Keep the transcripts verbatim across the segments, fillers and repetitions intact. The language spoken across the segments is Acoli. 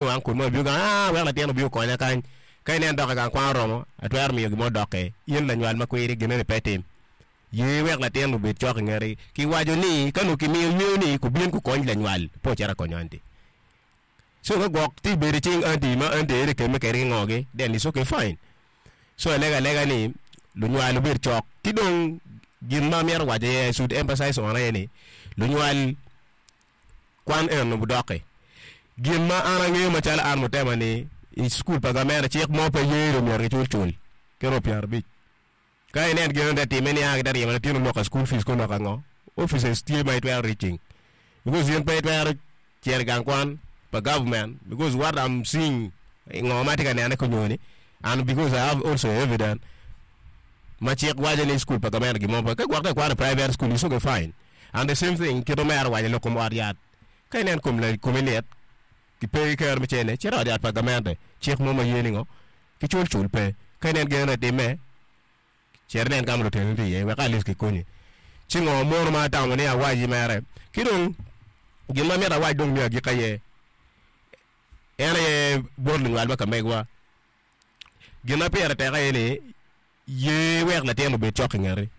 Uncle mo obino gang aa wek latin obin okonya kany ka inen dok i gang kwan oromo atwero miyo gin mo dokke in lanywal ma kwiri gineni pe itim ye wek latin obed cok i ngeti kiwaco ni ka nongo kimiyo yweyo ni kubin kukony lanywal pe ocito akonyo anti so ka gwok tye bedo i cing anti ma anti aye tye kemme kwede ki ngogi then it's okay fine so alega alega ni lunywal obed cok ki dong gin ma amito waco aye I should emphasize on aye ni lunywal Kwan eno budoki. Gin ma an angeyo macalo an mutema ni i cukul pa gamente cik mo pe ye ni myero gicul cul ki robo pyerabic. Ka inen gin eno te time ni a gite ryemo latin oloka cukul fees ki oloka ngo, offices tye ma itwero reaching because in pe itwero cito i gang kwan pa government because what I'm seeing ngo ma atye ka nene ki onyoni and because I have also evidence ma cik waco ni cukul pa gamente gin mo pe. Ka gwok ka ikwano i private school it's okay fine. And the same thing kit omera owaco lok kom ot yat. Ka inen kom la komi lit ki pe ki kero me cene, cit i ot yat pa gamente. Cik mo ma ye ni ngo? Ki cul cul pe. Ka inen gin eno time, cit inen ka ma lutino tye iye wek at least ki konyi. Ci ngo mono ma atamo ni awaci mere? Ki dong gin ma mito awac dong me agikki aye, en aye bot lunywal ma ka megwa. Gin ma pire tek aye ni Ye wek latin obed cok i ngeti.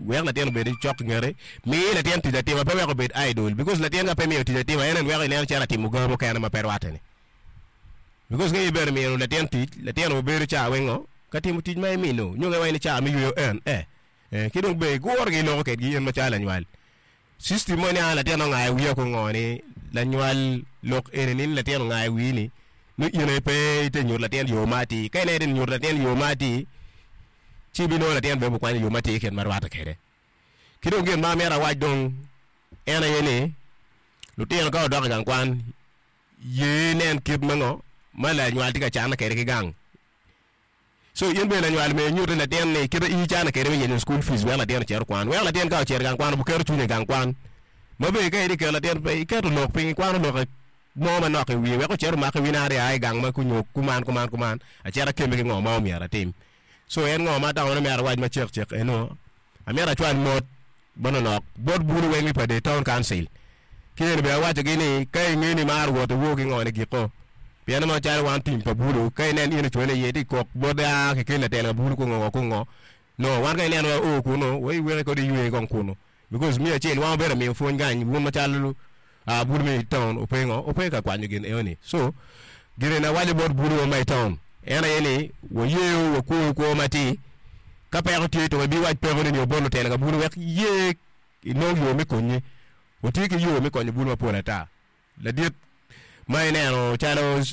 Wek latin obed cok i ngeti. Mi latin tic atima, pe wek obed idle. Because latin ka pe imiyo tic atima, en en weko ineno calo atimo ga mukene ma pe rwatte ni. Because ka in bene imiyo latin tic, latin obedo ca weng ngo? Ka timo tic ma imino. Nyo ka iwaco ni ca me yweyo en, eh. Eh, ki dong bene iguro gi iloko kedgi in macalo lanywal. System mo ni a latin ongayo wiya ko ngo ni lanywal lok eni ni latin ongayo wii ni nongo in aye pe ite nyuto latin yo ma atir. Ka ineno ite nyuto latin yo ma atir ci ibinongo latin bene obikwanyo yo matir kit ma rwatte kwede. Ki dong gin ma amyero awac dong en aye ni lutino ka odok i gang kwan ye inen kit ma ngo ma lanywal tye ka canne kwede ki gang. So in bene lanywal myero inyutte latin ni kite in icane kede me yenyo school fees wek latin ocit okwan. Wek latin ka ocito i gang kwan obuketo cwinye i gang kwan. Ma bene ka itye keto latin pe iketo lok piny ikwano lok mo manok i wiye wek ocit omak i wi nari aa i gang ma kunyo kuman kuman kuman acit akemme ki ngo ma omyero atim. So en ngo ma atamo ni myero awac macek cek eno amyero acwal mot manonok bot bulu weng mi pa The Town Council. Ki eni bene awaco gi ni ka inge ni imaro wot iwor ki ngo ni giko. Pien ma calo wan tim pa bulu ka inen in icwale iye ti kok bot aa ki keli latel ka bulu kungo ngo kungo no wan ka inen wa oo kunu wa iweki kodi iywe kong kunu because me acel wan wabedo miyo pwony kany wun macalo bulu me town ope ngo ope ka kwanyo gin eno ni so gin eni awaco bot bulu wa ma i town en aye ni wayeyo wakwoyo kwo matir ka peko tye to wabi wac peko ni nyo bot lutela ka bulu wek ye inong yo me konyi. Watye ki yo me konyo bulu mapol ata. Ladit ma ineno calo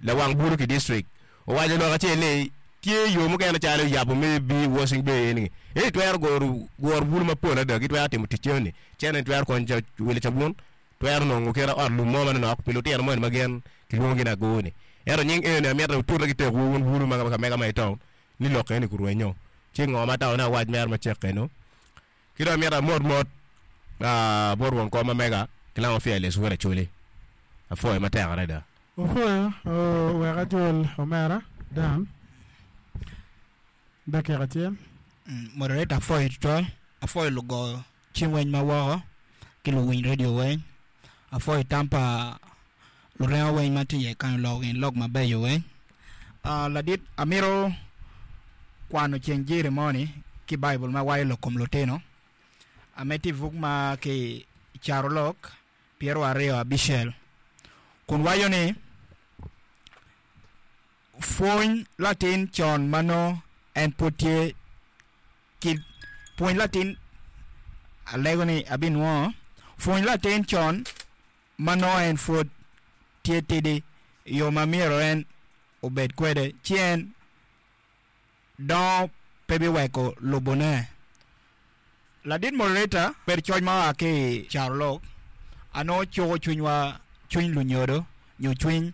lawang bulu ki distrik owaco lok acel ni tye yo mukene calo yabo me bi washing bay eni eni twero goro guro bulu mapol adada gitwero timo tic eni cene twero konyo wilo cabun twero nongo kite ot lum mo manonok pi lutino moni ma gin kilwongo gi ni ago ni ento nying eni amito wutute ki tekwu wun bulu ma ka mega ma i town ni lok eni gurwenyo ci ngo ma atamo ni awac mere macek eno. Ki dong amito amot mot bot won kom ma mega ki lamo Fearless wod Acholi. Apwoyo matek adada. Opwoyo wek ajol omera Dan dakika acel. Moderator apwoyo tutwal, apwoyo lugo cim weny ma woko ki luwiny radio weny, apwoyo tam pa lurengo weny ma tye iye kany oloko gin lok mabeco weny. Ladit amito kwano ceng jiri moni ki Baibul ma waco lok kom lutino ame tye i buk ma ki i Carolok pyeraryo aryo abicel kun waco ni, Pwony latin con ma nongo en pud tye ki pwony latin alego ni abinwongo pwony latin con ma nongo en pwod tye tidi i yo ma myero en obed kwede, ci en dongo pe biweko lubone. Ladit moderator, bedo coc ma oa ki i carolok a nongo cuko cwinywa, cwiny lunyodo nyo cwiny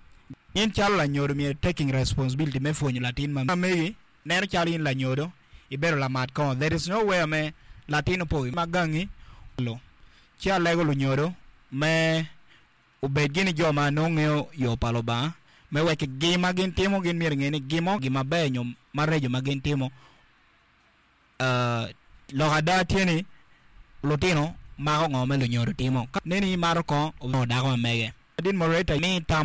in calo lanyodo myero taking responsibility me pwonyo latin ma megi neno calo in lanyodo ibedo lamat kongo there is no where me latin opo ma gangi Ci alego lunyodo me obed gini jo ma nongo ngeyo yo pa Lubanga, me wek gin ma gin timo gin myero inge ni gin mo gin maber nyo maraco ma gin timo. Lok ada tye ni lutino mako ngo ma lunyodo timo. Ka neni imato kongo onongo dako ma mege. Din moderator ni tam